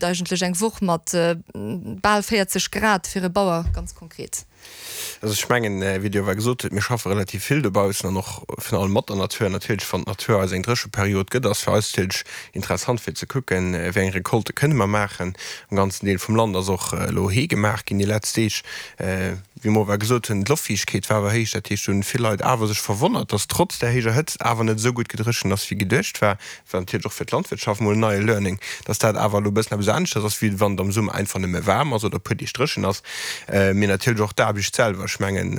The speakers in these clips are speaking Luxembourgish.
Eigentlech eng Woch mat bal 40 Grad fir e Bauer ganz konkret? Also ech mengen, wéi Dir awer gesot hutt, mir schaffe relativ vill dobaussen an och virun allem mat der Natur. Natierlech, wann d'Natur eis eng Drécheperiod gëtt, ass fir eis natierlech interessant fir ze kucken, wéi eng Recolte kënne mer maachen. Am ganzen Deel vum Land ass och elo Hee gemaach ginn déi letzt Deeg. Wéi mer awer gesot hunn, d'Loftfiichtegkeet war awer héich, dat heescht, do hunn vill Leit awer sech verwonnert, dass trotz där héijer Hëtzt awer net esou gutt gedréchent ass wéi geduecht war. War natierlech och fir d'Landwirtschaft mol en neie Learning, dass dat awer elo e bëssen eppes aneschters ass, wéi wann et am Summer einfach nëmme waarm ass oder e puer Deeg dréchen ass. Mee natierlech och d'Aarbecht selwer. Ech mengen,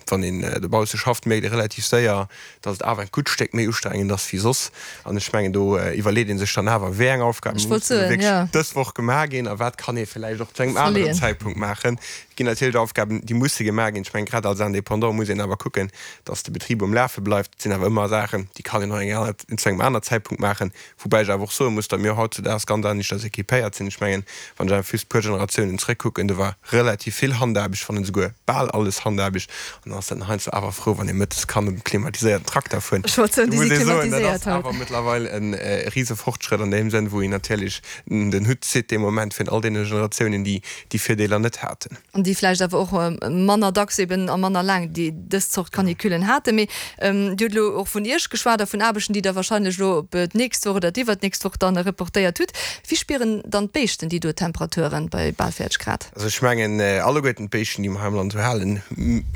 wann een dobausse schafft, mierkt ee relativ séier, dass et awer e gutt Stéck méi ustrengend ass wéi soss. An ech mengen, do iwwerleet ee sech dann awer, wéi eng Aufgaben Ech wollt mussen elo soen, wierklech jo. dës Woch gemaach ginn a wat kann ee vläicht och zu engem aneren Verleeën. Zäitpunkt maachen. Et ginn natierlech Aufgaben, déi musse gemaach ginn. Ech mengen, grad als Indépendant muss een awer kucken, dass de Betrib um Lafe bleift. Et sinn awer ëmmer Saachen, déi kann een och eng aner, zu engem aner Zäitpunkt maachen. Woubäi ech awer och soe muss, datt mir hautzudaags ganz aneschters équipéiert sinn. Ech mengen, wann ech einfach just e puer Generatiounen zrëckkucken, do war relativ vill Handaarbecht, wann net esouguer bal alles Handaarbecht. An dann ass dat heiansdo awer frou, wann ee mëttes kann op engem klimatiséierten Trakter fueren. Ech wollt soen, Do déi muss si ee soen, dat ass klimatiséiert haut. awer mëttlerweil e rise Fortschrëtt an deem Sënn, wou een natierlech den Hutt zitt dee Moment vun all deene Generatiounen, déi déi Virdeeler net haten. An déi vläicht awer och manner dacks eben a manner laang déi dës Zort Canicullen haten. Mee Dir hutt elo och vun Iech geschwat a vun Aarbechten, déi Der wahrscheinlech elo op d'nächst Woch oder d'iwwernächst Woch dann reportéiert hutt. Wéi spieren dann d'Béischten déi do Temperaturen bei bal 40 Grad? Also ech mengen, alleguerten d'Béischten, déi mer hei am Land esou halen,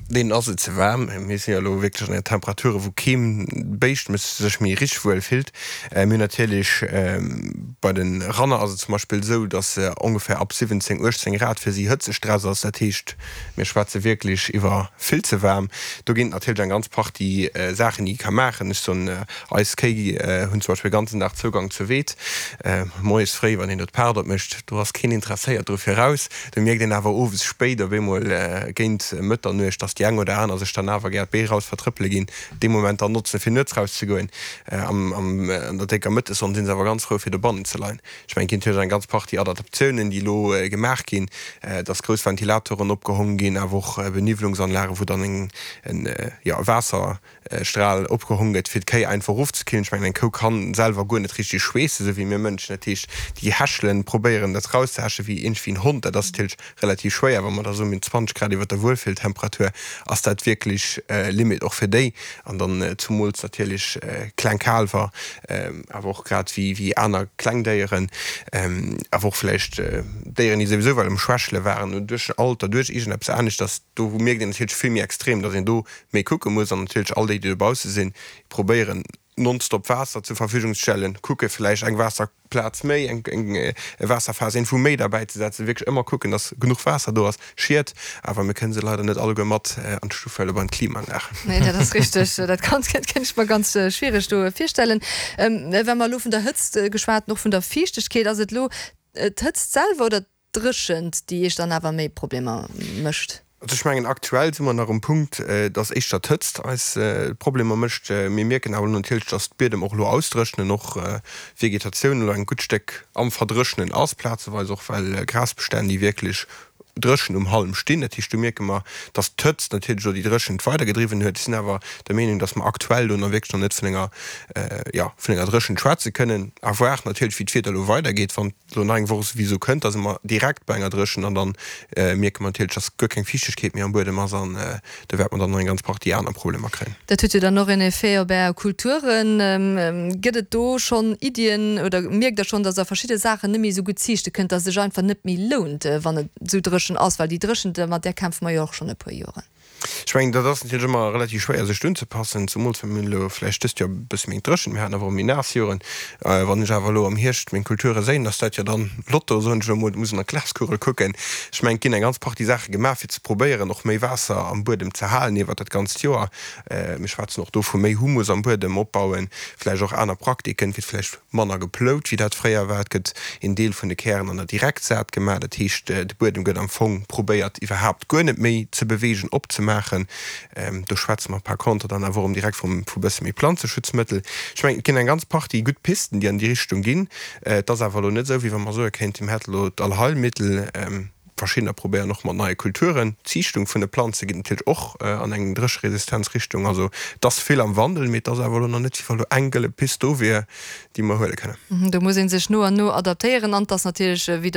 deenen ass et ze waarm. Mir si jo elo wierklech an Temperature wou kee Béischt sech méi richteg wuel fillt. Mir hunn natierlech bei de Ranner ass et zum Beispill esou, datt ongeféier ab 17, 18 Grad fir si Hëtzestress ass. Dat heescht, mir schwätze wierklech iwwer vill ze waarm. Do ginn et natierlech eng ganz Partie Saachen, déi ee ka maachen. Ech soen, eis Kéi hunn zum Beispill e ganzen Dag Zougang zur Weed. Moies fréi, wann een do d'Paart opmécht, do ass keen interesséiert dru fir raus. Do mierkt een awer owes spéit op eemol géint Mëtternuecht, datt déi eng oder aner sech dann awer gär d'Bee raus vertrëppele ginn. dee Moment dann notzen fir nuets rauszegoen. An der décker Mëttessonn sinn se awer ganz frou fir dobannen ze leien. Ech mengen et ginn natierlech eng ganz Partie Adaptatiounen déi elo gemaach ginn, dass grouss Ventilatoren opgehong ginn, awer och Beniwwelungsanlagen wou dann eng jo e Waasserstral opgehong gëtt fir d'Kéi einfach erofzekillen. Ech mengen eng Kou kann selwer guer net richteg schweessen, esou wéi mir Mënschen. Dat heescht déi hechelen, probéieren dat rauszehäschen wéi iergendwéi en Hond. Dat ass natierlech relativ schwéier. Wa mer da soen, mir hunn 20 Grad iwwer der Wuelfilltemperatur, ass dat wierklech Limit och fir déi. An dann zumools natierlech kleng Kaalwer, awer och grad wéi aner kleng Déieren, awer och vläicht Déieren, déi souwisou well um Schwächele waren, duerch Alter, duerch iergendeppes aneschters. Do mierkt een natierlech vill méi extrem, datt een do méi kucke muss. An natierlech all déi, déi dobausse sinn, probéieren nonstop Waasser zur Verfügung ze stellen, kucke vläicht eng Waasserplaz méi, eng e Waasserfaass iergendwou méi derbäi ze setzen, wierklech ëmmer kucken, dass genuch Waasser do ass. Schied, awer mir kënne se leider net alleguer mat an d'Stuff huelen bei d'Klimaanlag. Nee, dat ass richteg. Dat kann, kéint ech mer ganz schwiereg do virstellen. Wa mer elo vun der Hëtzt geschwat hunn, och vun der Fiichtegkeet, ass et elo d'Hëtzt selwer oder Dréchent, déi Iech dann awer méi Problemer mécht? Also ech mengen, aktuell si mer nach um Punkt, dass éischter d'Hëtzt eis Problemer mécht. Mir mierken awer elo natierlech, dass d'Biedem och elo ausdréchnen, och d'Vegetatioun elo eng gutt Stéck am Verdréchnen ass, plazeweis och well Grasbestänn, déi wierklech dréchen um Halm stinn. Dat heescht, do mierke mer, dass d'Hëtzt natierlech elo déi Dréchent weidergedriwwen huet. Ech sinn awer der Meenung, dass mer aktuell do nach wierklech nach net vun enger, jo, vun enger Dréchent schwätze kënnen. À voir natierlech, wéi d'Wieder elo weidergeet. Wann elo nach eng Woch souwisou kënnt, da si mer direkt bei enger Dréchent an dann mierke mer natierlech, dass guer keng Fiichtegkeet méi am Buedem ass an do wäerte mer dann nach eng ganz Partie aner Problemer kréien. Dat huet jo dann och en Effet op Är Kulturen. Gëtt et do schonn Iddien oder mierkt Der schonn, dass Der verschidde Saachen net méi esou gutt ziichte kënnt, dass et sech einfach net méi lount, wann et esou dréchen ass? Well déi Dréchent, mat där kämpfe mer jo och schonn e puer Joren. Ech mengen, dat ass natierlech ëmmer relativ schwéier sech do unzepassen, zumools well mir hunn elo vläicht dëst Joer e bësse méi dréchen, mir haten awer och méi naass Joren. Wann ech awer elo am Hierscht meng Kulture séien, ass dat jo dann Lotto, soen ech elo emol, muss an der Glaskugel kucken. Ech mengen, et ginn eng ganz Partie Saache gemaach, fir ze probéieren och méi Waasser am Buedem ze halen iwwert dat ganzt Joer. Mir schwätzen och do vu méi Humus am Buedem opbauen, vläicht och aner Praktiken, et gëtt vläicht manner geplout wéi dat fréier war. Et gëtt een Deel vun de Kären an der Direktsaat gemaach, dat heescht de Buedem gëtt am Fong probéiert iwwerhaapt guer net méi ze beweegen, opzemaachen. Do schwätze mer par contre dann awer erëm direkt vum vu bësse méi Planzeschutzmëttel. Ech mengen et ginn eng ganz Partie gutt Pisten déi an déi Richtung ginn. Et ass awer elo net esou wéi wa mer soe kéinten, mir hätte elo d'Allheilmittel. Verschiddener probéieren och mat neie Kulturen. D'Ziichtung vun de Planze geet natierlech och an eng Drécheresistenzrichtung. Also et ass vill am Wandel, mee et ass awer elo nach net, wéi wa lo eng gëlle Pist do wier, déi mer huele kënnen. Do muss ee sech no an no adaptéieren an et ass natierlech, wéi.